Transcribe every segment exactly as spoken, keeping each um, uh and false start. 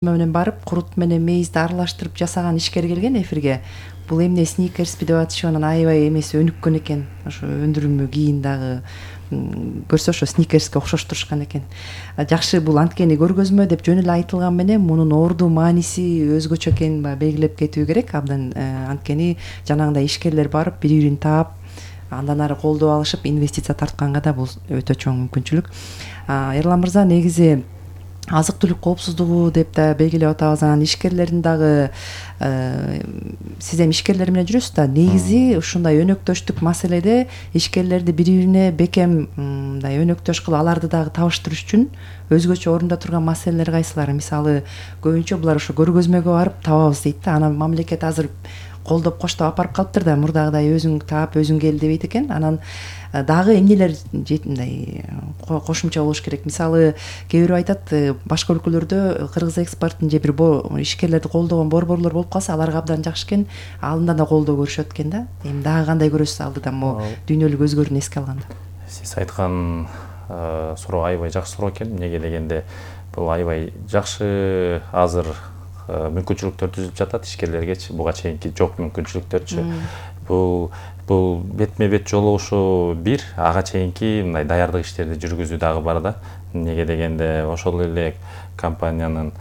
менен барып курут менен мейизди аралаштырып жасаган ишкер келген эфирге. Бул эмне сникерспи деп атышып анан аябай эмеси өнүккөн экен. Ошо өндүрүлмө кийин дагы көрсө ошо сникерске окшоштурушкан экен. Жакшы, бул анткени көргөзмө деп жөн эле айтылган менен мунун орду мааниси өзгөчө экенин белгилеп кетүү керек. Абдан анткени жанагындай ишкерлер барып бири бирин таап, андан ары колдоо алышып, инвестиция тартканга да бул өтө чоң мүмкүнчүлүк. Эрлан мырза, негизи азык-түлүк коопсуздугу деп да белгилеп атабыз. Анан ишкерлердин дагы сиз эми ишкерлер менен жүрөсүз да, негизи ушундай өнөктөштүк маселеде ишкерлерди бири-бирине бекем мындай өнөктөш кылып, аларды дагы табыштырыш үчүн өзгөчө орунда турган маселелер кайсылар? Мисалы, көбүнчө булар ошо көргөзмөгө барып табабыз дейт да. Анан мамлекет азыр колдоп коштоп апарып калыптыр да, мурдагыдай өзүң таап, өзүң кел дебейт экен. Анан дагы эмнелер мындай кошумча болуш керек? Мисалы, кээ бирөө айтат, башка өлкөлөрдө кыргыз экспортун же бир ишкерлерди колдогон борборлор болуп калса, аларга абдан жакшы экен, алындан да колдоо көрүшөт экен да. Эми дагы кандай көрөсүз алдыдан могу дүйнөлүк өзгөрүүнү эске алганда? Сиз айткан суроо аябай жакшы суроо экен. Эмнеге дегенде, бул аябай жакшы азыр мүмкүнчүлүктөр түзүлүп жатат ишкерлергечи, буга чейинки жок мүмкүнчүлүктөрчү. Бул бул бетме бет жолугушуу бир, ага чейинки мындай даярдык иштерди жүргүзүү дагы бар да. Эмнеге дегенде, ошол эле компаниянын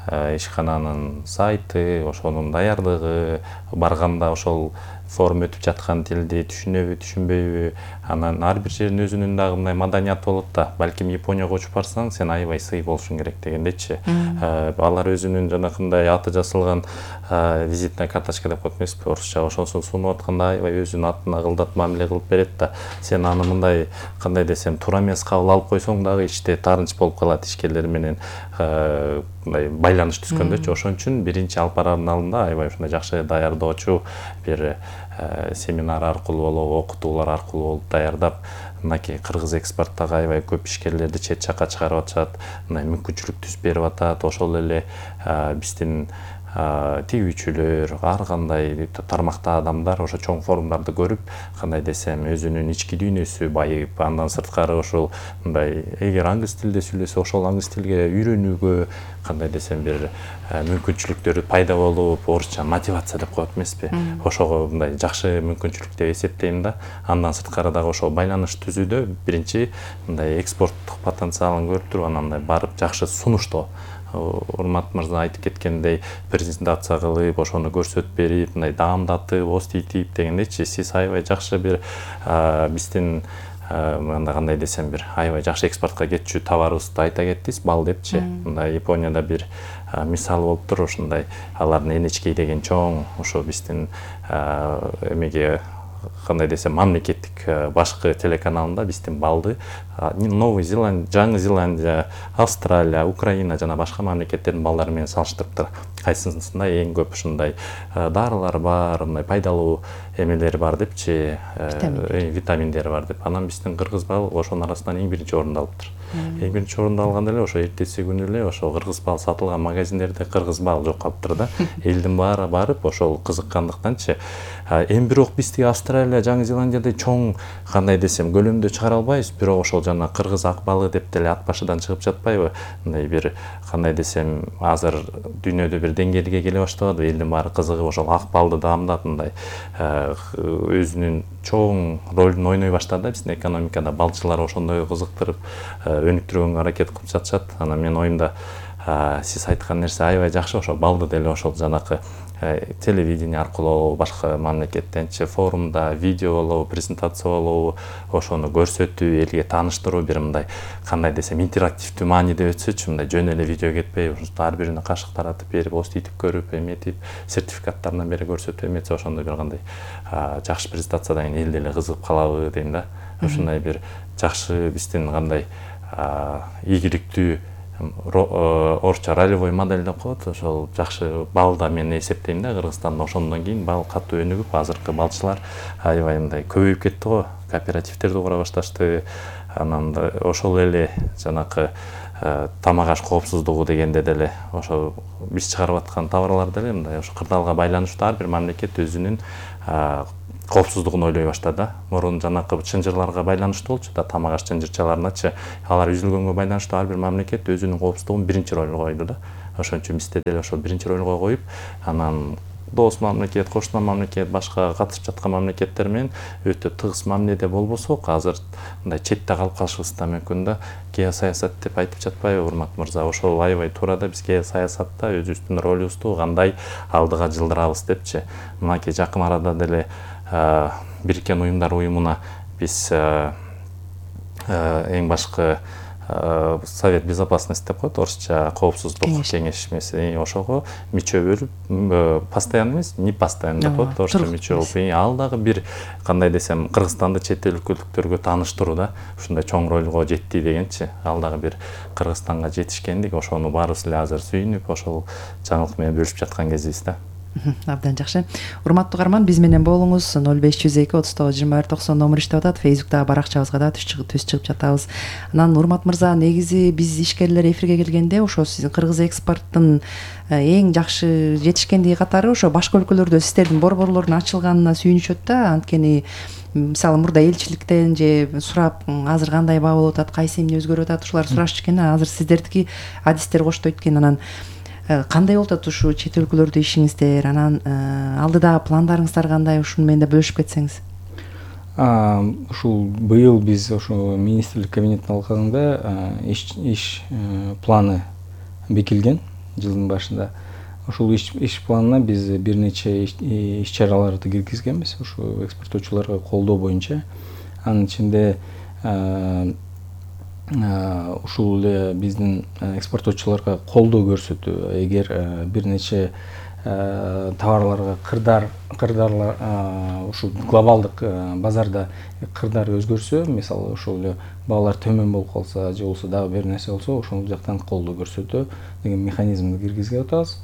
ишкананын сайты, ошонун даярдыгы, барганда ошол форум өтүп жаткан тилди түшүнөбү, түшүнбөйбү, анан ар бир жердин өзүнүн дагы мындай маданияты болот да. Балким Японияга учуп барсаң, сен аябай сый болушуң керек дегендечи. Алар өзүнүн жанакындай аты жазылган визитная карточка деп коет эмеспи, орусча, ошонусун сунуп атканда аябай өзүнүн атын агылдатып мамиле кылып берет да. Сен аны мындай, кандай десем, туура эмес кабыл алып койсоң дагы ичте таарынч болуп калат ишкерлер менен мындай байланыш түзгөндөчү. Ошон үчүн биринчи алып бараардын алдында аябай ушундай жакшы даярдоочу бир семинар аркылуу болобу, окутуулар аркылуу болуп даярдап, мынакей кыргыз экспорттогу аябай көп ишкерлерди чет жакка чыгарып атышат, мындай мүмкүнчүлүк түзүп берип атат. Ошол эле биздин тигүүчүлөр, ар кандай тармакта адамдар ошо чоң форумдарды көрүп, кандай десем, өзүнүн ички дүйнөсү байып, андан сырткары ошол мындай эгер англис тилде сүйлөсө, ошол англис тилге үйрөнүүгө, кандай десем, бир мүмкүнчүлүктөр пайда болуп, орусча мотивация деп коет эмеспи, ошого мындай жакшы мүмкүнчүлүк деп эсептейм да. Андан сырткары дагы ошол байланыш түзүүдө биринчи мындай экспорттук потенциалын көрүп туруп, анан мындай барып жакшы сунуштоо. Урмат мырза айтып кеткендей, презентация кылып, ошону көрсөтүп берип, мындай даамдатып, оститип дегендейчи, сиз аябай жакшы бир биздин мындай кандай десем, бир аябай жакшы экспортко кетчү товарыбызды айта кеттиңиз, бал депчи. Мындай Японияда бир мисал болуптур, ошондой алардын эн эйч кей деген чоң, ошо биздин эмеге кандай десем, мамлекеттик башкы телеканалында биздин балды Новый Зеландия, Жаңы Зеландия, Австралия, Украина жана башка мамлекеттердин балдары менен салыштырыптыр. Кайсысында эң көп ушундай дарылар бар, мындай пайдалуу эмелери бар депчи, витаминдери бар деп. Анан биздин кыргыз бал ошонун арасынан эң биринчи орунду алыптыр. Эң биринчи орунду алганда эле ошо эртеси күнү эле ошо кыргыз бал сатылган магазиндерде кыргыз бал жок калыптыр да. Элдин баары барып ошол кызыккандыктанчы. Эми бирок биздики Австралия, Жаңы Зеландияда чоң, кандай десем, көлөмдө чыгара албайбыз, бирок ошол жана кыргыз ак балы деп деле ат башыдан чыгып жатпайбы? Мындай бир, кандай десем, азыр дүйнөдө бир деңгээлге келе баштабады, элдин баары кызыгып ошол ак балды даамдап, мындай өзүнүн чоң ролун ойной баштады биздин экономикада. Балчылар ошондой кызыктырып, өнүктүргөнгө аракет кылып жатышат. Анан менин оюмда сиз айткан нерсе аябай жакшы, ошо балды деле ошол жанакы телевидение аркылуу, башка мамлекеттенчи форумда, видео болобу, презентация болобу, ошону көрсөтүү, элге тааныштыруу, бир мындай, кандай десем, интерактивдүү мааниде өтсөчү, мындай жөн эле видео кетпей, ар бирине кашык таратып берип, оститип көрүп, эметип, сертификаттарынан бери көрсөтүп эметсе, ошондой бир кандай жакшы презентациядан кийин эл деле кызыгып калабы дейм да. Ушундай бир жакшы биздин кандай ийгиликтүү орусча ролевой модель деп коет, ошол жакшы балда мен эсептейм да. Кыргызстанда ошондон кийин бал катуу өнүгүп, азыркы балчылар аябай мындай көбөйүп кетти го, кооперативтерди кура башташты. Анан ошол эле жанакы тамак аш коопсуздугу дегенде деле ошо биз чыгарып аткан товарлар деле мындай ошо кырдаалга байланыштуу ар бир мамлекет өзүнүн коопсуздугун ойлой баштады. Мурун жанакы чынжырларга байланыштуу болчу да, тамак аш чынжырчаларыначы, алар үзүлгөнгө байланыштуу ар бир мамлекет өзүнүн коопсуздугун биринчи ролго койду да. ошон үчүн бизде деле ошо биринчи ролго коюп, анан дос мамлекет, кошуна мамлекет, башка катышып жаткан мамлекеттер менен өтө тыгыз мамиледе болбосок, азыр мындай четте калып калышыбыз да мүмкүн да. Геосаясат деп айтып жатпайбы Урмат мырза? Ошол аябай туура да, биз геосаясатта өзүбүздүн ролубузду кандай алдыга жылдырабыз депчи. Мынакей жакын арада деле Бириккен Уюмдар уюмуна биз эң башкы Совет безопасности деп коет, орусча коопсуздук кеңешмеси, ошого мүчө болуп, постоянный эмес, не постоянный деп коет, орусча мүчө болуп, ал дагы бир кандай десем, Кыргызстанды чет өлкөлүктөргө тааныштыруу да, ушундай чоң ролго жетти дегенчи. Ал дагы бир Кыргызстанга жетишкендик, ошону баарыбыз эле азыр сүйүнүп, ошол жаңылык менен бөлүшүп жаткан кезибиз да. Абдан жакшы. Урматтуу каарман, биз менен болуңуз. ноль беш жүз эки отуз тогуз жыйырма бир токсон номер иштеп атат. Фейсбуктагы баракчабызга да түз чыгып жатабыз. Анан Урмат мырза, негизи биз ишкерлер эфирге келгенде ошо сиздин кыргыз экспорттун эң жакшы жетишкендиги катары ошо башка өлкөлөрдө сиздердин борборлордун ачылганына сүйүнүшөт да. Анткени мисалы мурда элчиликтен же сурап, азыр кандай баа болуп атат, кайсы эмне өзгөрүп атат, ушулар сурашчу экен. Азыр сиздердики адистер коштойт экен. Анан кандай болуп атат ушу чет өлкөлөрдө ишиңиздер, анан алдыдагы пландарыңыздар кандай, ушуну менен да бөлүшүп кетсеңиз. Ушул быйыл биз ошо министрлик кабинетинин алкагында иш планы бекилген жылдын башында. Ушул иш планына биз бир нече иш чараларды киргизгенбиз, ушу экспорттоочуларга колдоо боюнча. Анын ичинде ушул эле биздин экспорттоочуларга колдоо көрсөтүү, эгер бир нече товарларга кырдар кырдарлар ушул глобалдык базарда кырдар өзгөрсө, мисалы ошол эле баалар төмөн болуп калса же болбосо дагы бир нерсе болсо, ошол жактан колдоо көрсөтүү деген механизмди киргизип атабыз.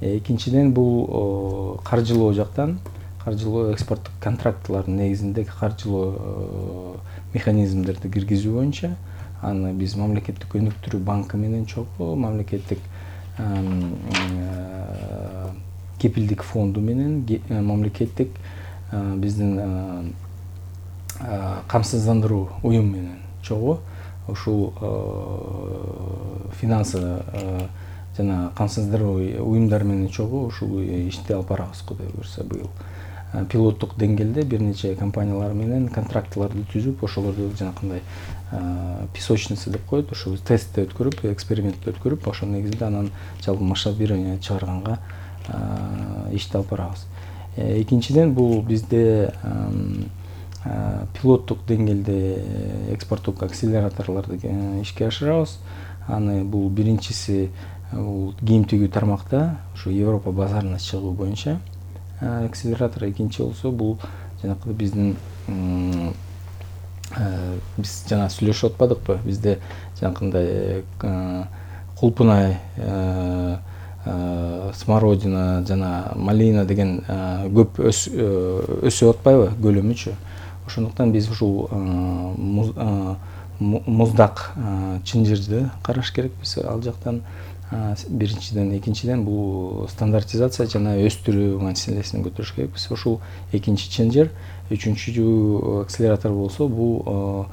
Экинчиден, бул каржылоо жактан, каржылоо экспорттук контрактлардын негизинде каржылоо механизмдерди киргизүү боюнча аны биз мамлекеттик өнүктүрүү банкы менен чогуу, мамлекеттик кепилдик фонду менен, мамлекеттик биздин камсыздандыруу уюм менен чогуу ушул финансы жана камсыздандыруу уюмдар менен чогуу ушул ишти алып барабыз. Кудай буюрса, быйыл пилоттук деңгээлде бир нече компаниялар менен контрактларды түзүп, ошолорду жанакындай песочница деп коет, ошол тестти өткөрүп, экспериментти өткөрүп, ошонун негизинде анан жалпы масштабирование чыгарганга ишти алып барабыз. Экинчиден, бул бизде пилоттук деңгээлде экспорттук акселераторлорду ишке ашырабыз. Аны бул биринчиси бул кийим тигүү тармакта ушу Европа базарына чыгуу боюнча акселератор, экинчи болсо бул жанакы биздин биз жана сүйлөшүп атпадыкпы, бизде жанакындай кулпунай, смородина жана малина деген көп өсүп атпайбы көлөмүчү. Ошондуктан биз ушул муздак чынжырды караш керекпиз ал жактан. Биринчиден, экинчиден бул стандартизация жана өстүрүү маселесин көтөрүш керекпиз. Ушул экинчи чынжыр. Үчүнчү акселератор болсо бул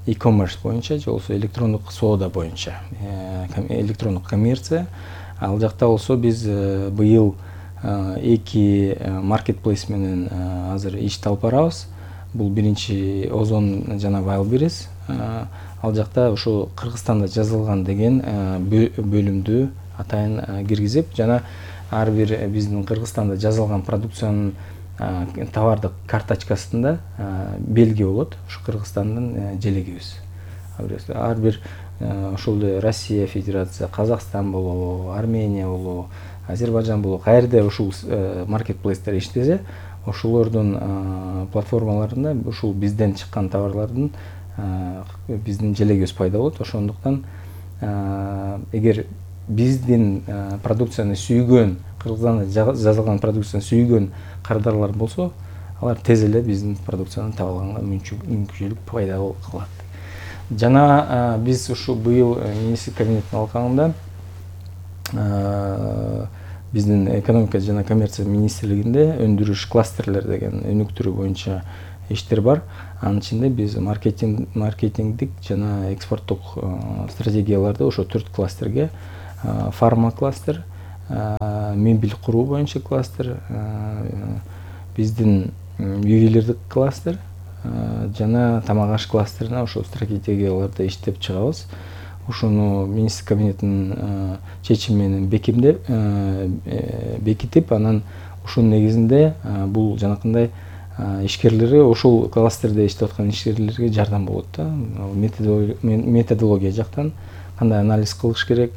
e-commerce боюнча же болбосо электрондук соода боюнча, электрондук коммерция. Ал жакта болсо биз быйыл эки маркетплейс менен азыр ишти алып барабыз. Бул биринчи Озон жана Wildberries. Ал жакта ошо Кыргызстанда жазылган деген бөлүмдү атайын киргизип, жана ар бир биздин Кыргызстанда жазылган продукциянын товардык карточкасында белги болот, ушу Кыргызстандын желегибиз. Ар бир ошол эле Россия Федерация, Казакстан болобу, Армения болобу, Азербайжан болобу, каерде ушул маркетплейстер иштесе, ошолордун платформаларында ушул бизден чыккан товарлардын биздин желегибиз пайда болот. Ошондуктан эгер биздин продукцияны сүйгөн, Кыргызстанда жазылган продукцияны сүйгөн кардарлар болсо, алар тез эле биздин продукцияны таап алганга мүмкүнчүлүк пайда кылат. Жана биз ушу быйыл министрлик кабинетинин алкагында биздин экономика жана коммерция министрлигинде өндүрүш кластерлер деген өнүктүрүү боюнча иштер бар. Анын ичинде биз маркетинг маркетингдик жана экспорттук стратегияларды ошо төрт кластерге: фарма кластер, мебель куруу боюнча кластер, биздин ювелирдик кластер жана тамак аш кластерине ошол стратегияларды иштеп чыгабыз. Ошону министр кабинетинин чечими менен бекемдеп бекитип, анан ошонун негизинде бул жанакындай ишкерлери ошол кластерде иштеп аткан ишкерлерге жардам болот да. Методология жактан кандай анализ кылыш керек,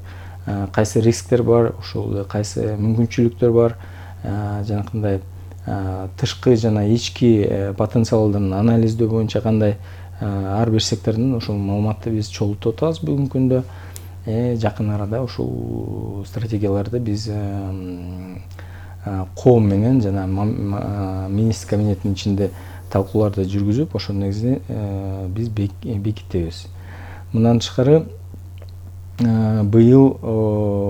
кайсы рисктер бар, ошол кайсы мүмкүнчүлүктөр бар, жанакындай тышкы жана ички потенциалдарын анализдөө боюнча кандай ар бир сектордун ошол маалыматты биз чогултуп атабыз бүгүнкү күндө. Жакын арада ушул стратегияларды биз коом менен жана министр кабинетинин ичинде талкууларды жүргүзүп, ошонун негизинде биз бекитебиз. Мындан тышкары быйыл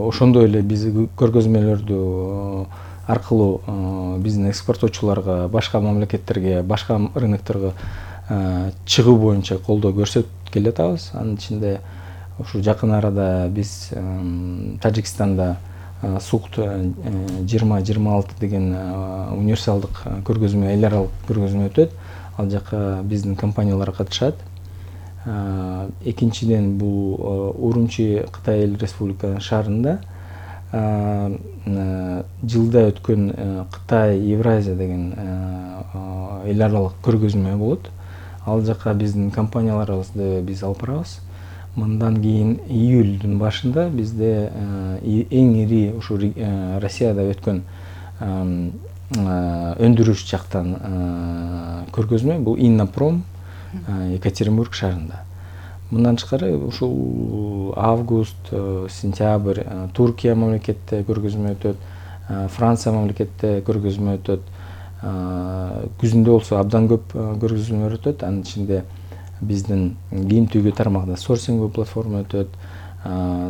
ошондой эле биз көргөзмөлөрдү аркылуу биздин экспорттоочуларга башка мамлекеттерге, башка рынокторго чыгуу боюнча колдоо көрсөтүп келатабыз. Анын ичинде ушу жакын арада биз Тажикстанда Сукт жыйырма жыйырма алты деген универсалдык көргөзмө, эл аралык көргөзмө өтөт. Ал жака биздин компаниялар катышат. Экинчиден бул Урумчи Кытай Эл Республика шаарында жылда өткөн Кытай Евразия деген эл аралык көргөзмө болот. Ал жака биздин компанияларыбызды биз алып барабыз. Мындан кийин июлдун башында бизде эң ири ушу Россияда өткөн өндүрүш жактан көргөзмө бул Иннопром Екатеринбург шаарында. Мындан тышкары ушул август, сентябрь Туркия мамлекетте көргөзмө өтөт, Франция мамлекетте көргөзмө өтөт. Күзүндө болсо абдан көп көргөзмөлөр өтөт. Анын ичинде биздин кийим түйгү тармагында сорсинг платформа өтөт,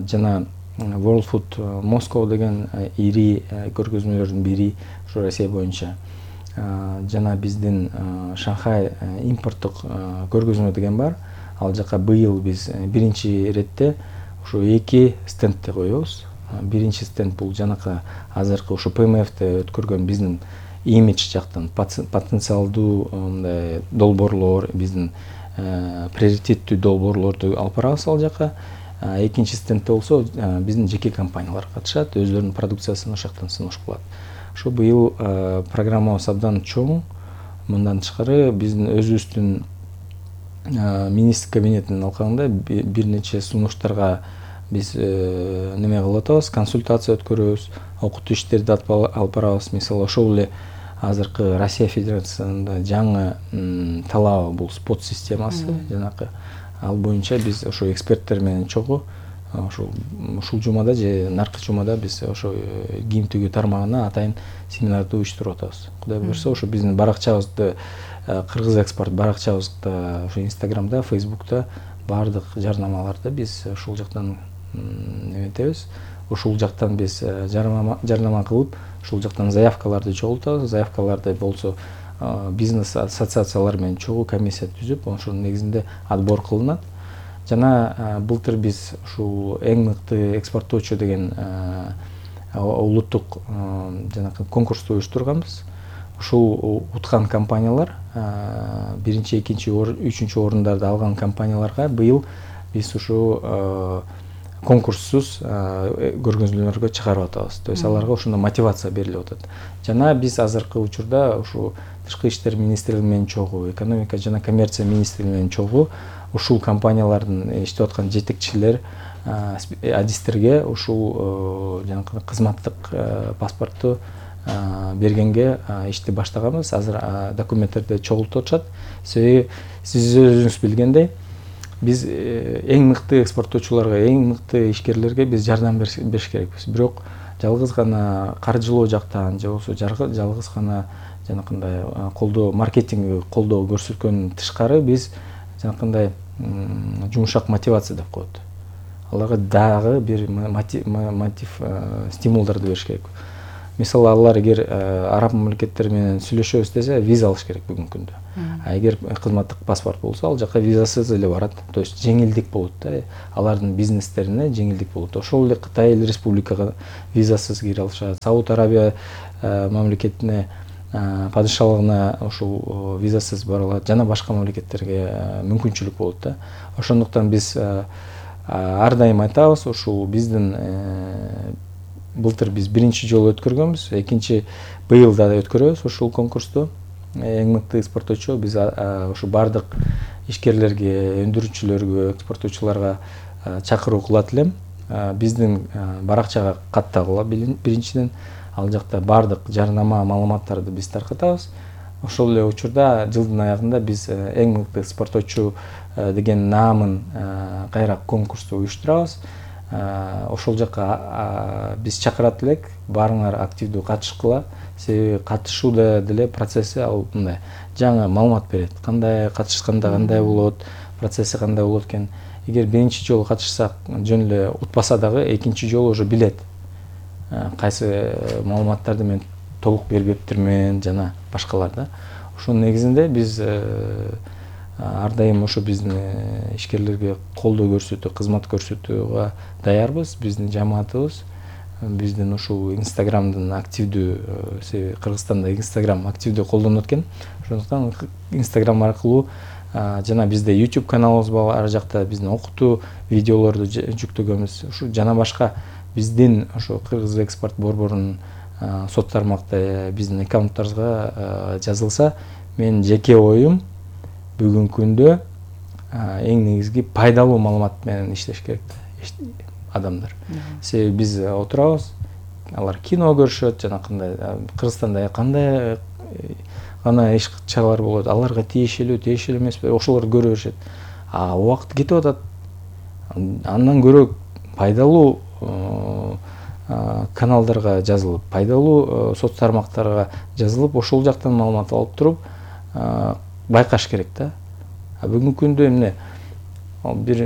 жана World Food Moscow деген ири көргөзмөлөрдүн бири ушу Россия боюнча, жана биздин Шанхай импорттук көргөзмө деген бар. Ал жака быйыл биз биринчи иретте ушу эки стендти коебуз. Биринчи стенд бул жанакы азыркы ушу Пэ Эм Эфте өткөргөн биздин имидж жактан потенциалдуу мындай долбоорлор, биздин приоритеттүү долбоорлорду алып барабыз ал жака. Экинчи стендте болсо биздин жеке компаниялар катышат, өзлөрүнүн продукциясын ошол жактан сунуш кылат. Ошо быйыл программабыз абдан чоң. Мындан тышкары биздин өзүбүздүн министр кабинетинин алкагында бир нече сунуштарга биз неме кылып атабыз, консультация өткөрөбүз, окутуу иштерди алып барабыз. Мисалы ошол эле азыркы Россия Федерациясында жаңы талабы бул спот системасы, жанакы ал боюнча биз ошо эксперттер менен чогуу ошол ушул жумада же наркы жумада биз ошо кийим түйгү тармагына атайын семинарды уюштуруп атабыз. Кудай буюрса ошо биздин баракчабызды, Кыргыз экспорт баракчабызда, ошо Инстаграмда, Фейсбукта баардык жарнамаларды биз ушул жактан неметебиз. Ушул жактан биз жарнама кылып, ушул жактан заявкаларды чогултабыз. Заявкаларды болсо бизнес ассоциациялар менен чогуу комиссия түзүп, ошонун негизинде отбор кылынат. Жана былтыр биз ушул эң мыкты экспорттоочу деген улуттук жанакы конкурсту уюштурганбыз. Ушул уткан компаниялар, биринчи, экинчи, үчүнчү орундарды алган компанияларга быйыл биз ушу конкурссуз көргөзмөлөргө чыгарып атабыз. То есть аларга ошондо мотивация берилип атат. Жана биз азыркы учурда ушу Тышкы иштер министрлиги менен чогуу, экономика жана коммерция министрлиги менен чогуу ушул компаниялардын иштеп аткан жетекчилер, адистерге ушул жанакы кызматтык паспортту бергенге ишти баштаганбыз. Азыр документтерди чогултуп атышат. Себеби сиз өзүңүз билгендей, биз эң мыкты экспорттоочуларга, эң мыкты ишкерлерге биз жардам бериш керекпиз. Бирок жалгыз гана каржылоо жактан же болбосо жалгыз гана жанакындай колдоо, маркетинг колдоо көрсөткөндөн тышкары биз жанакындай жумшак мотивация деп коет. Аларга дагы бир мотив, стимулдарды бериш керек. мисалы алар эгер араб мамлекеттери менен сүйлөшөбүз десе виза алыш керек бүгүнкү күндө. А эгер кызматтык паспорт болсо ал жака визасыз эле барат. То есть жеңилдик болот да. Алардын бизнестерине жеңилдик болот. Ошол эле Кытай эл республикага визасыз кире алышат. Сауд Арабия мамлекетине падышалыгына ошол визасыз бара алат. Жана башка мамлекеттерге мүмкүнчүлүк болот да. Ошондуктан биз ар дайым айтабыз, ушул биздин былтыр биз биринчи жолу өткөргөнбүз, экинчи быйыл да өткөрөбүз ушул конкурсту. Эң мыкты экспорттоочу биз ошо бардык ишкерлерге, өндүрүүчүлөргө, экспорттоочуларга чакыруу кылат элем. Биздин баракчага каттагыла биринчиден, ал жакта бардык жарнама, маалыматтарды биз таркатабыз. Ошол эле учурда жылдын аягында биз эң мыкты экспорттоочу деген наамын кайра конкурсту уюштурабыз. Ошол жака биз чакырат элек, баарыңар активдүү катышкыла. Себеби катышууда деле процесси ал мындай жаңы маалымат берет. Кандай катышканда кандай болот, процесси кандай болот экен. Эгер биринчи жолу катышсак жөн эле утпаса дагы экинчи жолу уже билет. Кайсы маалыматтарды мен толук бербептирмин жана башкалар да. Ошонун негизинде биз ар дайым ошо биздин ишкерлерге колдоо көрсөтүү, кызмат көрсөтүүгө даярбыз. Биздин жамаатыбыз, биздин ушул Инстаграмдын активдүү, себеби Кыргызстанда Инстаграм активдүү колдонот экен. Ошондуктан Инстаграм аркылуу жана бизде YouTube каналыбыз бар, ар жакта биздин окутуу видеолорду жүктөгөнбүз. Ушу жана башка биздин ошо Кыргыз экспорт борборунун сот тармакта биздин аккаунттарыбызга жазылса, менин жеке оюм бүгүнкү күндө эң негизги пайдалуу маалымат менен иштеш керек адамдар. Себеби биз отурабыз, алар кино көрүшөт, жана кандай Кыргызстанда кандай гана иш чаралар болот, аларга тиешелүү, тиешелүү эмес, ошолорду көрө беришет. А убакыт кетип атат. Андан көрө пайдалуу каналдарга жазылып, пайдалуу соц тармактарга жазылып, ошол жактан маалымат алып туруп байкаш керек да. А бүгүнкү күндө эмне бир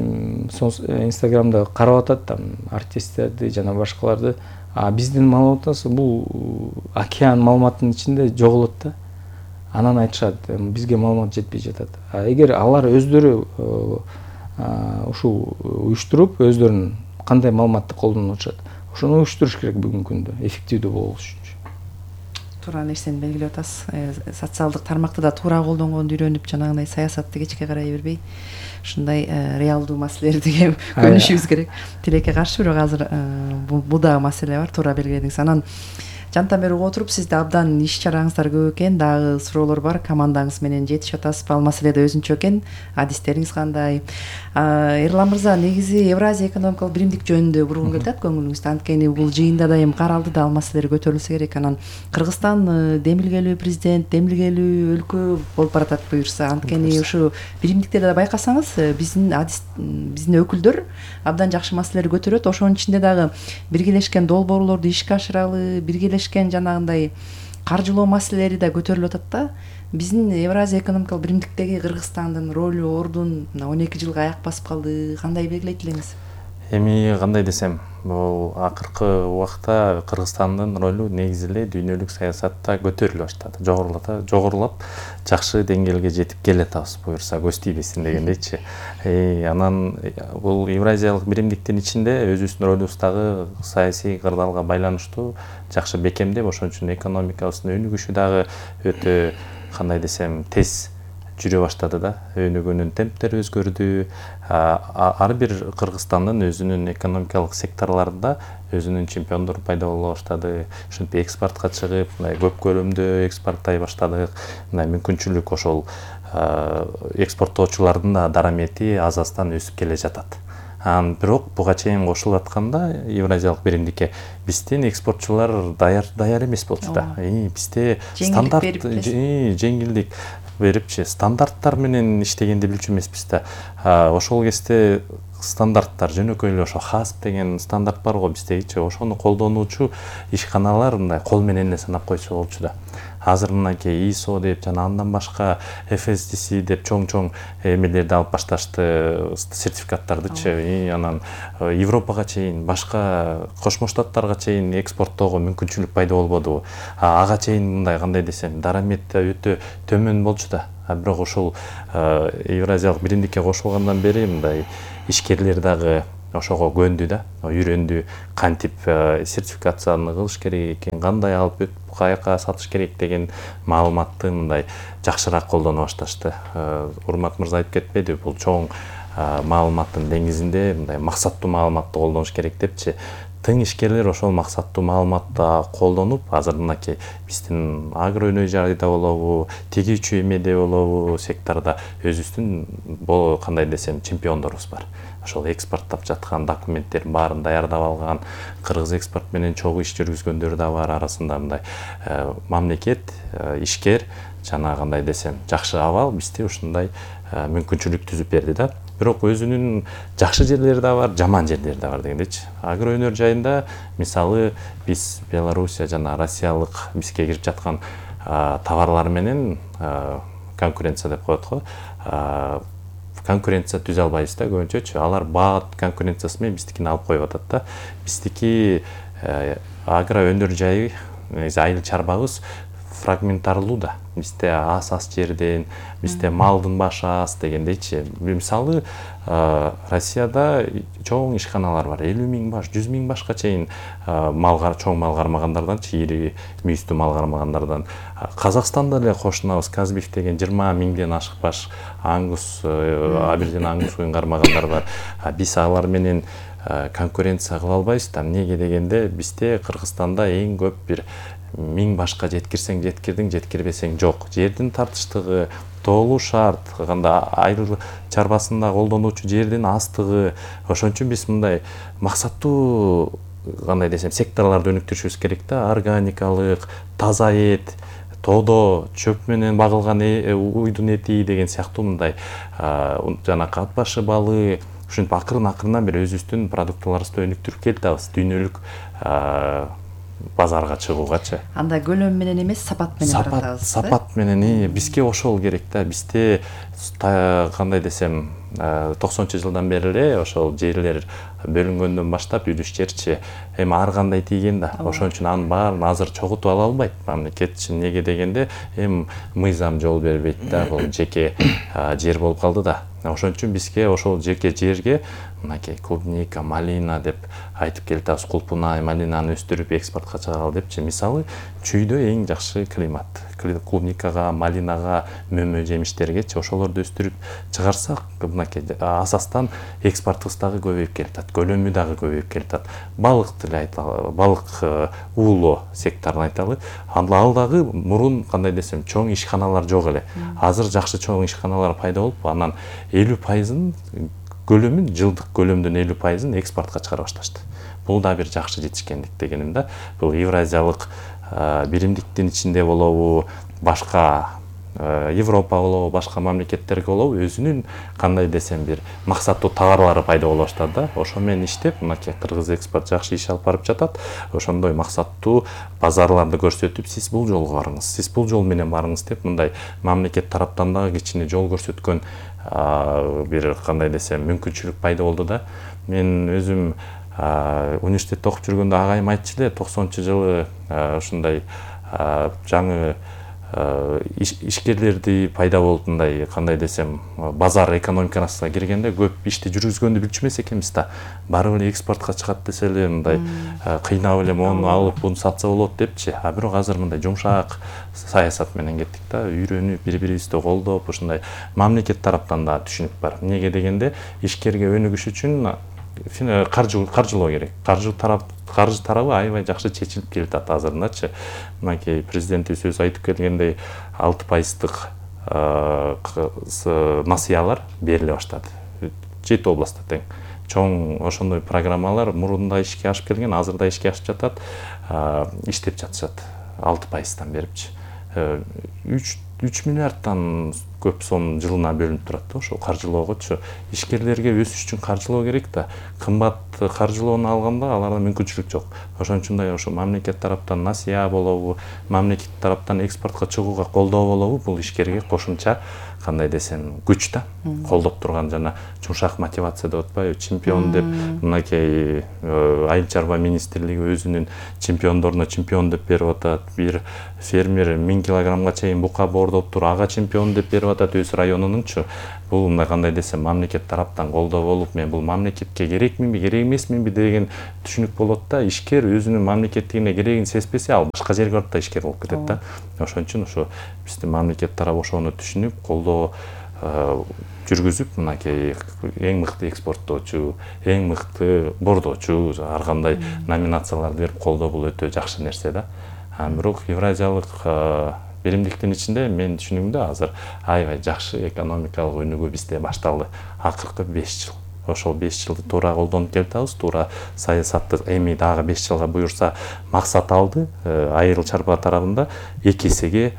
Инстаграмда карап атат там артисттерди жана башкаларды, а биздин маалыматыбыз бул океан маалыматтын ичинде жоголот да. Анан айтышат, бизге маалымат жетпей жатат. А эгер алар өздөрү ушул уюштуруп, өздөрүнүн кандай маалыматты колдонуп атышат, ошону уюштуруш керек бүгүнкү күндө эффективдүү болуш үчүн. Туура нерсени белгилеп атасыз. Социалдык тармакты да туура колдонгонду үйрөнүп, жанагындай саясатты кечке карай бербей, ушундай реалдуу маселелерди көнүшүбүз керек. Тилекке каршы, бирок азыр бул дагы маселе бар, туура белгиледиңиз. Анан жантан бери угуп отуруп, сизде абдан иш чараңыздар көп экен, дагы суроолор бар, командаңыз менен жетишип атасыз, ал маселеде өзүнчө экен, адистериңиз кандай? Эрлан мырза, негизи Евразия экономикалык биримдик жөнүндө бургун келатат көңүлүңүздө, анткени бул жыйында дайым каралды да, ал маселелер көтөрүлсө керек. Анан Кыргызстан демилгелүү президент, демилгелүү өлкө болуп баратат буюрса, анткени ушу биримдиктерде да байкасаңыз, биздин адис, биздин өкүлдөр абдан жакшы маселелер көтөрөт. Ошонун ичинде дагы биргелешкен долбоорлорду ишке ашыралы, биргелешкен жанагындай каржылоо маселелери да көтөрүлүп атат да. Биздин Евразия экономикалык биримдиктеги Кыргызстандын ролу, ордун он эки жылга аяк басып калды. Кандай белгилейт элеңиз? Эми кандай десем, бул акыркы убакта Кыргызстандын ролу негизи эле дүйнөлүк саясатта көтөрүлө баштады. Жогорулата, жогорулап, жакшы деңгээлге жетип келатабыз буюрса, көз тийбесин дегендейчи. Анан бул Евразиялык биримдиктин ичинде өзүбүздүн ролубуз дагы саясий кырдаалга байланыштуу жакшы бекемдеп, ошон үчүн экономикабыздын өнүгүшү дагы өтө кандай десем тез жүрө баштады да. Өнүгүүнүн темптери өзгөрдү. Ар бир Кыргызстандын өзүнүн экономикалык секторларында өзүнүн чемпиондору пайда боло баштады. Ошентип экспортко чыгып, мындай көп көлөмдө экспорттой баштадык. Мындай мүмкүнчүлүк ошол экспорттоочулардын да дарамети аз-аздан өсүп келе жатат. Анан бирок буга чейин кошулуп атканда Евразиялык биримдикке биздин экспортчулар даяр даяр эмес болчу да. Бизде стандарт жеңилдик берипчи, стандарттар менен иштегенди билчү эмеспиз да. Ошол кезде стандарттар жөнөкөй эле ошо хасп деген стандарт бар го биздегичи, ошону колдонуучу ишканалар мындай кол менен эле санап койсо болчу да. азыр мынакей ИСО деп жана андан башка эф эс ди си деп чоң-чоң эмелерди алып башташты, сертификаттардычы. Анан Европага чейин, башка Кошмо Штаттарга чейин экспорттоого мүмкүнчүлүк пайда болбодубу? Ага чейин мындай кандай десем, дарамет өтө төмөн болчу да. Бирок ошол Евразиялык биримдикке кошулгандан бери мындай ишкерлер дагы ошого көндү да, үйрөндү, кантип сертификацияны кылыш керек экен, кандай алып өтүп каяка сатыш керек деген маалыматты мындай жакшыраак колдоно башташты. Урмат мырза айтып кетпеди, бул чоң маалыматтын деңизинде мындай максаттуу маалыматты колдонуш керек депчи. Тың ишкерлер ошол максаттуу маалыматты колдонуп, азыр мынакей биздин агро өнөө жайда болобу, тигүүчү эмеде болобу, секторда өзүбүздүн кандай десем чемпиондорубуз бар. Ошол экспорттап жаткан документтердин баарын даярдап алган, кыргыз экспорт менен чогуу иш жүргүзгөндөр да бар. Арасында мындай мамлекет, ишкер жана кандай десем жакшы абал бизде ушундай мүмкүнчүлүк түзүп берди да. Бирок өзүнүн жакшы жерлери да бар, жаман жерлери да бар дегендейчи. Агро өнөр жайында мисалы биз Белоруссия жана Россиялык бизге кирип жаткан товарлар менен конкуренция деп коет го. Конкуренция түзө албайбыз да көбүнчөчү. Алар баат конкуренциясы менен биздикини алып коюп атат да. Биздики агро өнөр жайы, айыл чарбабыз фрагментарлуу да. Бизде аз-аз жерден, бизде малдын башы аз дегендейчи. Мисалы Россияда чоң ишканалар бар, элүү миң баш, жүз миң башка чейин малга, чоң мал кармагандардан, чири мүйүстүү мал кармагандардан. Казакстанда эле кошунабыз, Казбиф деген жыйырма миңден ашык баш аңгус, абирден аңгус уюн кармагандар бар. Биз алар менен конкуренция кыла албайбыз да. Эмнеге дегенде бизде Кыргызстанда эң көп бир миң башка жеткирсең жеткирдиң, жеткирбесең жок. Жердин тартыштыгы, тоолуу шарт, кандай айыл чарбасында колдонуучу жердин аздыгы. Ошон үчүн биз мындай максаттуу кандай десем секторлорду өнүктүрүшүбүз керек да. Органикалык, таза эт, тоодо чөп менен багылган уйдун эти деген сыяктуу мындай жана ат башы балы. Ушинтип акырын-акырындан бери өзүбүздүн продукцияларыбызды өнүктүрүп келатабыз дүйнөлүк базарга чыгуугачы. Анда көлөм менен эмес, сапат менен баратабыз. Сапат менен бизге ошол керек да. Бизде кандай десем токсонунчу жылдан бери эле ошол жерлер бөлүнгөндөн баштап үлүш жерчи эми ар кандай тийген да. Ошон үчүн анын баарын азыр чогултуп ала албайт мамлекет. Эмнеге дегенде эми мыйзам жол бербейт да. Бул жеке жер болуп калды да. Ошон үчүн бизге ошол жеке жерге мынакей клубника, малина деп айтып келатабыз. Кулпунай, малинаны өстүрүп экспортко чыгаралы депчи. Мисалы, чүйдө эң жакшы климат. Клубникага, малинага, мөмө жемиштергечи ошолорду өстүрүп чыгарсак, мынакей асастан экспортубуз дагы көбөйүп келатат, көлөмү дагы көбөйүп келатат. Балык деле айталы, балык уулоо секторун айталы. Анда ал дагы мурун кандай десем, чоң ишканалар жок эле. Азыр жакшы чоң ишканалар пайда болуп, анан элүү пайызын көлөмүн, жылдык көлөмдүн элүү пайызын экспортко чыгара башташты. Бул да бир жакшы жетишкендик дегеним да. Бул Евразиялык биримдиктин ичинде болобу, башка Европа болобу, башка мамлекеттерге болобу, өзүнүн кандай десем бир максаттуу товарлары пайда боло баштады да. Ошо менен иштеп, мынакей Кыргыз экспорт жакшы иш алып барып жатат. Ошондой максаттуу базарларды көрсөтүп, сиз бул жолго барыңыз, сиз бул жол менен барыңыз деп мындай мамлекет тараптан дагы кичине жол көрсөткөн бир кандай десем мүмкүнчүлүк пайда болду да. Мен өзүм университетте окуп жүргөндө агайым айтчу эле, токсонунчу жылы ушундай жаңы ишкерлерди пайда болуп, мындай кандай десем базар экономикасына киргенде көп ишти жүргүзгөндү билчү эмес экенбиз да. Барып эле экспортко чыгат десе эле мындай кыйнап эле мону алып буну сатса болот депчи. А бирок азыр мындай жумшак саясат менен кеттик да. Үйрөнүп, бири-бирибизди колдоп, ушундай мамлекет тараптан да түшүнүк бар. Эмнеге дегенде ишкерге өнүгүш үчүн каржылоо керек. Каржы тарап каржы тарабы аябай жакшы чечилип келатат азырындачы. Мынакей президентибиз өзү айтып келгендей алты пайыздык насыялар бериле баштады. Жети областта тең. Чоң ошондой программалар мурунда ишке ашып келген, азыр да ишке ашып жатат, иштеп жатышат. алты пайыздан берипчи. үч миллиарддан көп сом жылына бөлүнүп турат да, ошол каржылоогочу ишкерлерге өсүш үчүн каржылоо керек да. Кымбат каржылоону алганда аларда мүмкүнчүлүк жок. Ошончундай ошо мамлекет тараптан насыя болобу, мамлекет тараптан экспортко чыгууга колдоо болобу, бул ишкерге кошумча кандай десем күч да, колдоп турган жана жумшак мотивация деп атпайбы, чемпион деп мынакей айыл чарба министрлиги өзүнүн чемпиондоруна чемпион деп берип атат. Бир фермер миң килограммга чейин бука боордоптур, ага чемпион деп берип атат өз районунунчу. Бул мындай кандай десем мамлекет тараптан колдоо болуп, мен бул мамлекетке керекминби, керек эмесминби деген түшүнүк болот да. Ишкер өзүнүн мамлекеттигине керегин сезбесе, ал башка жерге барып да ишкер болуп кетет да. Ошон үчүн ошо биздин мамлекет тарабы ошону түшүнүп, колдоо жүргүзүп, мынакей эң мыкты экспорттоочу, эң мыкты боордоочу, ар кандай номинацияларды берип колдоо, бул өтө жакшы нерсе да. Бирок евразиялык биримдиктин ичинде мен түшүнүгүмдө азыр аябай жакшы экономикалык өнүгүү бизде башталды. Акыркы беш жыл. Ошол беш жылды туура колдонуп келатабыз, туура саясатты эми дагы беш жылга буюрса максат алды. Айыл чарба тарабында эки эсеге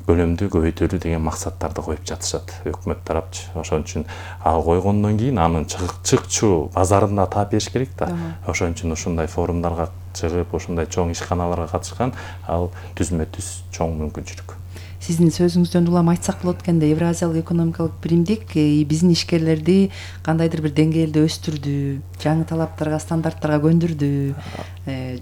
көлөмдү көбөйтөлү деген максаттарды коюп жатышат өкмөт тарапчы. Ошон үчүн ал койгондон кийин анын чыкчу базарында таап бериш керек да. Ошон үчүн ушундай форумдарга чыгып, ушундай чоң ишканаларга катышкан ал түзмө түз чоң мүмкүнчүлүк. Сиздин сөзүңүздөн улам айтсак болот экенде, Евразиялык экономикалык биримдик биздин ишкерлерди кандайдыр бир деңгээлде өстүрдү, жаңы талаптарга, стандарттарга көндүрдү.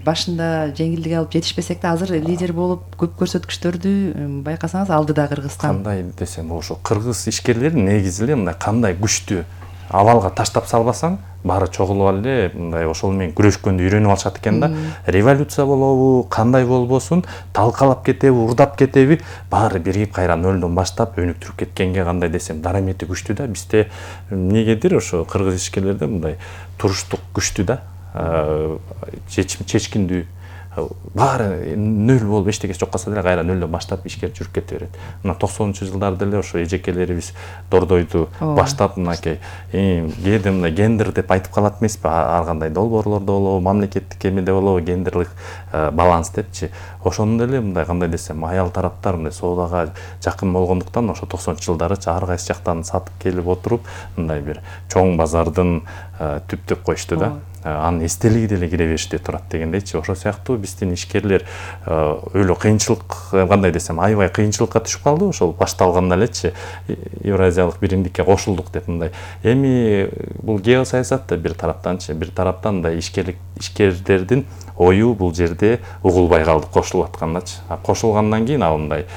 Башында жеңилдик алып жетишпесек да, азыр лидер болуп көп көрсөткүчтөрдү байкасаңыз алдыда Кыргызстан. Кандай десем, ошо кыргыз ишкерлери негизи эле мындай кандай күчтүү абалга таштап салбасаң, баары чогулуп эле мындай ошол менен күрөшкөндү үйрөнүп алышат экен да. Революция болобу, кандай болбосун, талкалап кетеби, урдап кетеби, баары биригип кайра нөлдөн баштап өнүктүрүп кеткенге кандай десем дарамети күчтүү да. Бизде эмнегедир ошо кыргыз ишкерлерде мындай туруштук күчтүү да, чечкиндүү, баары нөл болуп эчтекеси жок калса деле кайра нөлдөн баштап ишке жүрүп кете берет. Мына токсонунчу жылдарда деле ошо эжекелерибиз дордойду баштап мынакей кээде мындай гендер деп айтып калат эмеспи, ар кандай долбоорлордо болобу, мамлекеттик эмеде болобу, гендерлик баланс депчи. Ошону деле мындай кандай десем аял тараптар мындай соодага жакын болгондуктан ошо токсонунчу жылдарычы ар кайсы жактан сатып келип отуруп, мындай бир чоң базардын түптөп коюшту да. Анын эстелиги деле кире бериште турат дегендейчи. Ошол сыяктуу биздин ишкерлер өлө кыйынчылык, кандай десем, аябай кыйынчылыкка түшүп калды ошол башталганда элечи. Евразиялык биримдикке кошулдук деп мындай. Эми бул геосаясат да бир тараптанчы, бир тараптан да ишкерлик ишкерлердин ою бул жерде угулбай калды кошулуп аткандачы. Кошулгандан кийин ал мындай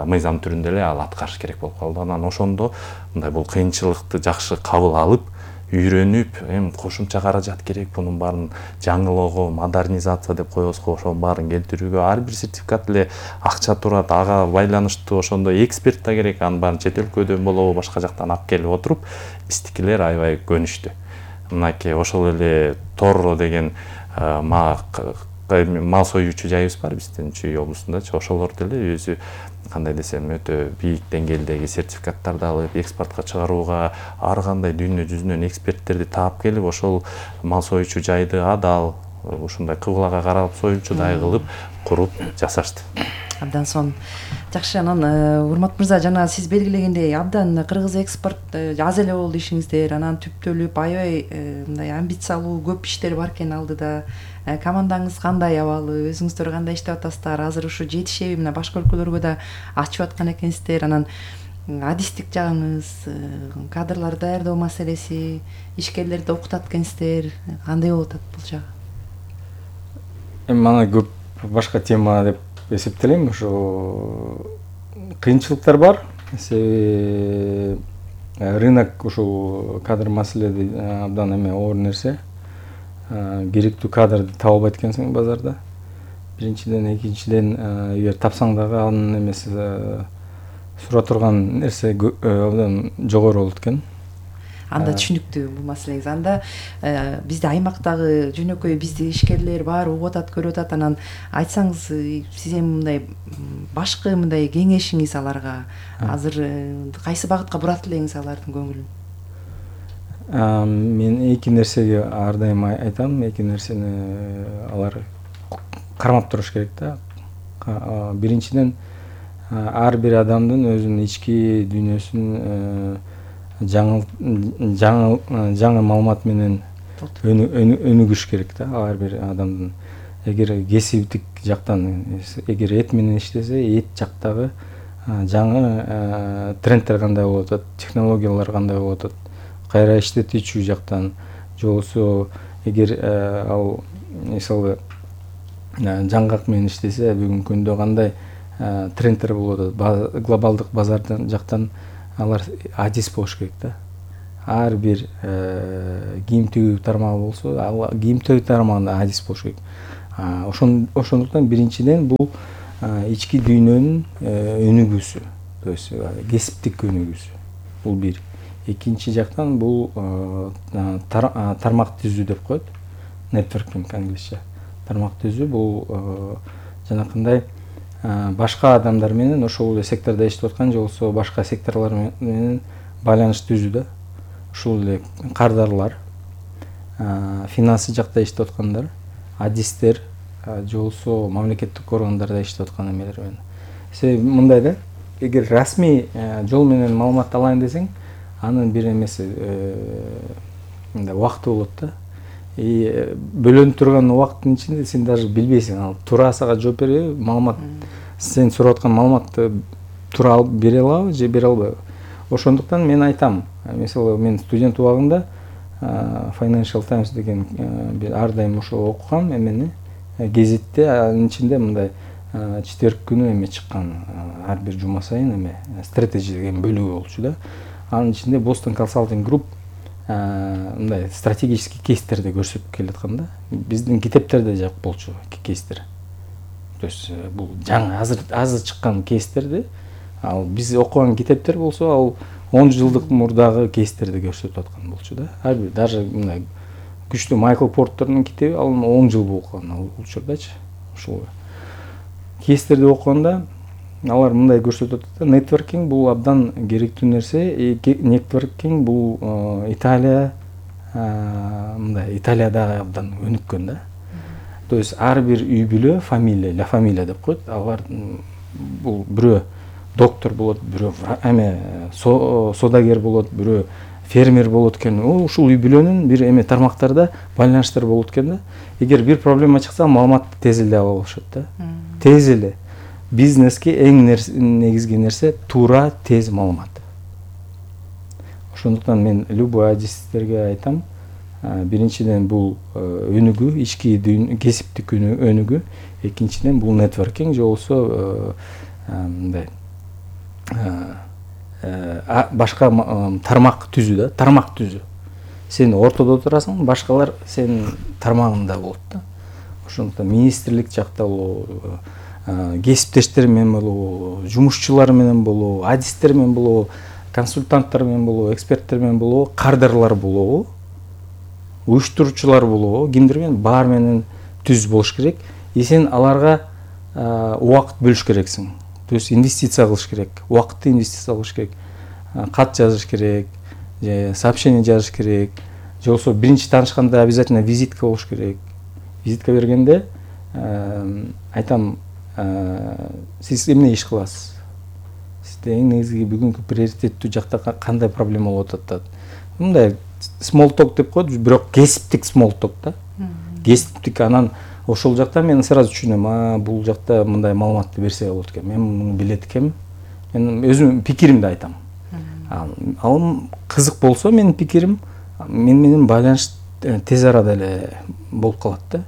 мыйзам түрүндө эле ал аткарыш керек болуп калды. Анан ошондо мындай бул кыйынчылыкты жакшы кабыл алып, үйрөнүп, эми кошумча каражат керек, бунун баарын жаңылоого, модернизация деп коебузго, ошонун баарын келтирүүгө ар бир сертификат эле акча турат, ага байланыштуу ошондой эксперт да керек, анын баарын чет өлкөдөн болобу, башка жактан алып келип отуруп, биздикилер аябай көнүштү. Мынакей ошол эле Торро деген мал союучу жайыбыз бар биздин Чүй облусундачы. Ошолор деле өзү кандай десем өтө бийик деңгээлдеги сертификаттарды алып, экспортко чыгарууга ар кандай дүйнө жүзүнөн эксперттерди таап келип, ошол мал союучу жайды адал, ушундай кыблага карап союучудай кылып куруп жасашты. Абдан сонун. Жакшы, анан урмат мырза, жана сиз белгилегендей абдан кыргыз экспорт аз эле болду ишиңиздер, анан түптөлүп аябай мындай амбициялуу көп иштер бар экен алдыда. Командаңыз кандай абалы, өзүңүздөр кандай иштеп атасыздар? Азыр ушу жетишеби? Мына башка өлкөлөргө да ачып аткан экенсиздер. Анан адистик жагыңыз, кадрлар даярдоо маселеси, ишкерлерди окутат экенсиздер. Кандай болуп атат бул жагы? Эми мана көп башка тема деп эсептелем. Ошо кыйынчылыктар бар. Себеби рынок ушул кадр маселеси абдан эме оор нерсе. Керектүү кадрды таба албайт экенсиң базарда. Биринчиден, экинчиден, эгер тапсаң дагы анын эмеси сура турган нерсе абдан жогору болот экен. Анда түшүнүктүү бул маселеңиз. Анда бизде аймактагы жөнөкөй бизди ишкерлер бар, угуп атат, көрүп атат. Анан айтсаңыз, сиз эми мындай башкы мындай кеңешиңиз аларга азыр кайсы багытка бурат элеңиз алардын көңүлүн? Мен эки нерсеге ар дайым айтам. Эки нерсени алар кармап туруш керек да. Биринчиден, ар бир адамдын өзүнүн ички дүйнөсүн жаңы жаңы жаңы маалымат менен өнүгүш керек да. Ар бир адамдын эгер кесиптик жактан эгер эт менен иштесе, эт жактагы жаңы трендтер кандай болуп атат, технологиялар кандай болуп атат, кайра иштетүүчү жактан же болбосо эгер ал мисалы жаңгак менен иштесе, бүгүнкү күндө кандай трендтер болуп атат, глобалдык базардан жактан алар адис болуш керек да. Ар бир кийим тигүү тармагы болсо, ал кийим тигүү тармагында адис болуш керек. Ошондуктан биринчиден бул ички дүйнөнүн өнүгүүсү, то есть кесиптик өнүгүүсү. Бул бир. Экинчи жактан бул тармак түзүү деп коет. Networking англисче. Тармак түзүү бул жанакындай башка адамдар менен ошол эле сектордо иштеп аткан же болбосо башка секторлор менен байланыш түзүү да. Ушул эле кардарлар, финансы жакта иштеп аткандар, адистер же болбосо мамлекеттик органдарда иштеп аткан эмелер менен. Себеби мындай да, эгер расмий жол менен маалымат алайын десең, анын бир эмеси мындай убакыты болот да. И бөлөнүп турган убакыттын ичинде сен даже билбейсиң, ал туура сага жооп береби, маалымат сен сурап аткан маалыматты туура алып бере алабы же бере албайбы. Ошондуктан мен айтам, мисалы мен студент убагында Financial Times деген ар дайым ошол окугам эмени, гезитте, анын ичинде мындай четверг күнү эме чыккан, ар бир жума сайын эме стратеги деген бөлүгү болчу да. Анын ичинде Boston Consulting Group мындай стратегический кейстерди көрсөтүп келаткан да. Биздин китептерде жок болчу кейстер. То есть бул жаңы азыр азыр чыккан кейстерди, ал биз окуган китептер болсо, ал он жылдык мурдагы кейстерди көрсөтүп аткан болчу да. Ар бир даже мындай күчтүү Майкл Портердин китеби ал он жыл окуган ал учурдачы. Ушул кейстерди окуганда алар мындай көрсөтүп атат. Networking бул абдан керектүү нерсе. Networking бул Италия мындай Италиядагы абдан өнүккөн да. То есть ар бир үй бүлө, фамилия, ла фамилия деп коет. Алар бул бирөө доктор болот, бирөө эме содагер болот, бирөө фермер болот экен. Ушул үй бүлөнүн бир эме тармактарда байланыштар болот экен да. Эгер бир проблема чыкса, маалыматты тез эле ала алышат да. Тез эле. Бизнеске эң негизги нерсе туура, тез маалымат. Ошондуктан мен любой адистерге айтам, биринчиден бул өнүгүү, ички дүйнө, кесиптик өнүгүү, экинчиден бул нетворкинг же болбосо мындай башка тармак түзүү да, тармак түзүү. Сен ортодо турасың, башкалар сенин тармагыңда болот да. Ошондуктан министрлик жакта болобу, кесиптештер менен болобу, жумушчулар менен болобу, адистер менен болобу, консультанттар менен болобу, эксперттер менен болобу, кардарлар болобу, уюштуруучулар болобу, кимдир менен баар менен түз болуш керек. И сен аларга убакыт бөлүш керексиң. То есть инвестиция кылыш керек, убакытты инвестиция кылыш керек, кат жазыш керек, же сообщение жазыш керек, же болбосо биринчи таанышканда обязательно визитка болуш керек. Визитка бергенде айтам, сиз эмне иш кыласыз? Сизде эң негизги бүгүнкү приоритеттүү жакта кандай проблема болуп атат? Мындай small talk деп коет, бирок кесиптик small talk да. Кесиптик, анан ошол жакта мен сразу түшүнөм, а бул жакта мындай маалыматты берсе болот экен. Мен муну билет экенмин. Мен өзүм пикиримди айтам. Ал кызык болсо менин пикирим, мен менен байланыш тез арада эле болуп калат да.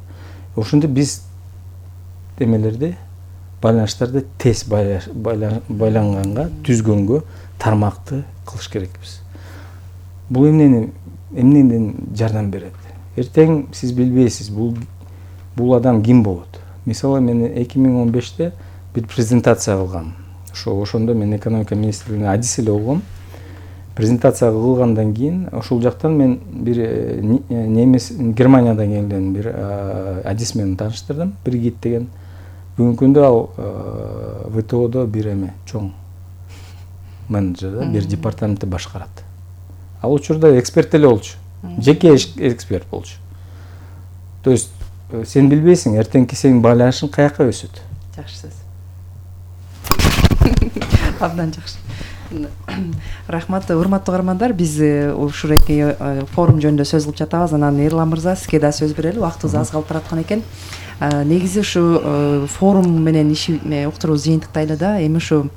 Ошондо биз эмелерди, байланыштарды тез байланганга, түзгөнгө тармакты кылыш керекпиз. Бул эмнени эмнеден жардам берет? Эртең сиз билбейсиз, бул бул адам ким болот? Мисалы мен эки миң он беште бир презентация кылгам. Ошо ошондо мен экономика министрлигине адис эле болгом. Презентация кылгандан кийин ошол жактан мен бир немес Германиядан келген бир адис менен тааныштырдым, Бригит деген. Бүгүнкү күндө ал вэ тэ одо бир эме чоң менеджер да, бир департаментти башкарат. Ал учурда эксперт эле болчу. Жеке эксперт болчу. То есть сен билбейсиң, эртеңки сенин байланышың каяка өсөт. Жакшы сөз. Абдан жакшы. Рахмат, урматтуу угармандар, биз ушуреки форум жөнүндө сөз кылып жатабыз. Анан Эрлан мырза, сизге да сөз берели, убактыбыз аз калып бараткан экен. Негизи ушу форум менен иш уктурубуз жыйынтыктайлы да, эми ушу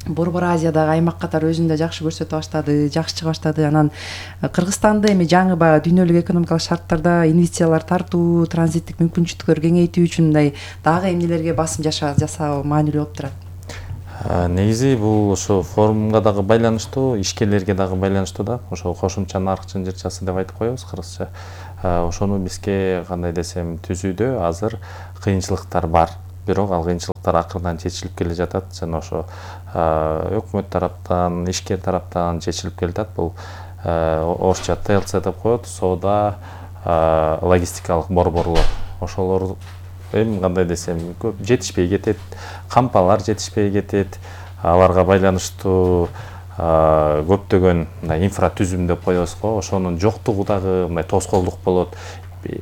Борбор Азиядагы аймак катары өзүн да жакшы көрсөтө баштады, жакшы чыга баштады. Анан Кыргызстанды эми жаңы баягы дүйнөлүк экономикалык шарттарда инвестициялар тартуу, транзиттик мүмкүнчүлүктөр кеңейтүү үчүн мындай дагы эмнелерге басым жасоо маанилүү болуп турат? Негизи бул ошо форумга дагы байланыштуу, ишкерлерге дагы байланыштуу да. Ошо кошумча нарк чынжырчасы деп айтып коебуз кыргызча. Ошону бизге кандай десем түзүүдө азыр кыйынчылыктар бар. Бирок ал кыйынчылыктар акырдан чечилип келе жатат жана ошо өкмөт тараптан, ишкер тараптан чечилип келатат. Бул орусча тэ эл цэ деп коет, соода логистикалык борборлор. Ошолор эми кандай десем көп жетишпей кетет, кампалар жетишпей кетет. Аларга байланыштуу көптөгөн мындай инфратүзүм деп коебуз го, ошонун жоктугу дагы мындай тоскоолдук болот.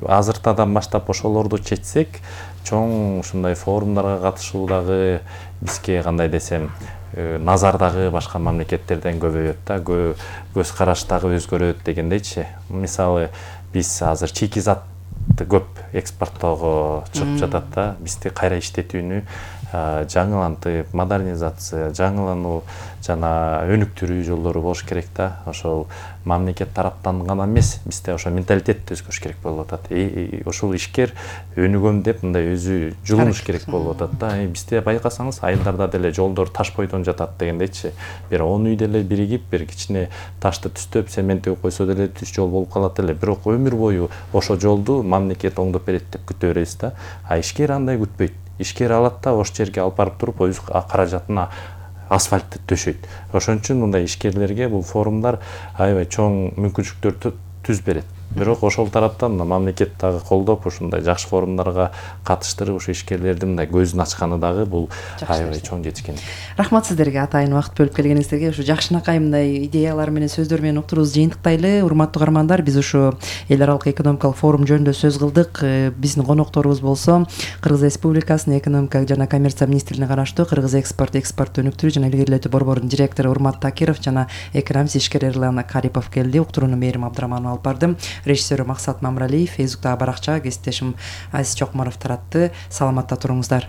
Азыртадан баштап ошолорду чечсек, чоң ушундай форумдарга катышуу дагы бизге кандай десем назар дагы башка мамлекеттерден көбөйөт да, көз караш дагы өзгөрөт дегендейчи. Мисалы, биз азыр чийки затты көп экспорттоого чыгып жатат да, бизди кайра иштетүүнү жаңылантып, модернизация, жаңылануу жана өнүктүрүү жолдору болуш керек да. Ошол мамлекет тараптан гана эмес, бизде ошо менталитетти өзгөрүш керек болуп атат. Ошол ишкер өнүгөм деп мындай өзү жулунуш керек болуп атат да. Бизде байкасаңыз, айылдарда деле жолдор таш бойдон жатат дегендейчи. Бир он үй деле биригип, бир кичине ташты түстөп, цемент төгүп койсо деле түз жол болуп калат эле. Бирок өмүр бою ошо жолду мамлекет оңдоп берет деп күтө беребиз да. А ишкер андай күтпөйт. Ишкер алат да, ошол жерге алып барып туруп, өз каражатына асфальтты төшөйт. Ошон үчүн мындай ишкерлерге бул форумдар аябай чоң мүмкүнчүлүктөр түз берет. Бирок ошол тараптан мамлекет дагы колдоп, ушундай жакшы форумдарга катыштырып, ушу ишкерлердин мындай көзүн ачканы дагы бул аябай чоң жетишкендик. Рахмат сиздерге атайын убакыт бөлүп келгениңиздерге. Ушу жакшынакай мындай идеялар менен, сөздөр менен уктурубузду жыйынтыктайлы. Урматтуу угармандар, биз ушу эл аралык экономикалык форум жөнүндө сөз кылдык. Биздин конокторубуз болсо Кыргыз Республикасынын экономика жана коммерция министрлигине караштуу Кыргыз экспорт, экспортту өнүктүрүү жана илгерилетүү борборунун директору Урмат Такиров жана экономист ишкер Эрлан Карипов келди. Уктурууну Мээрим Абдыраманова алып барды. Режиссеру Максат Мамралиев, Фейсбуктагы баракча кесиптешим Азиз Чокморов таратты. Саламатта туруңуздар.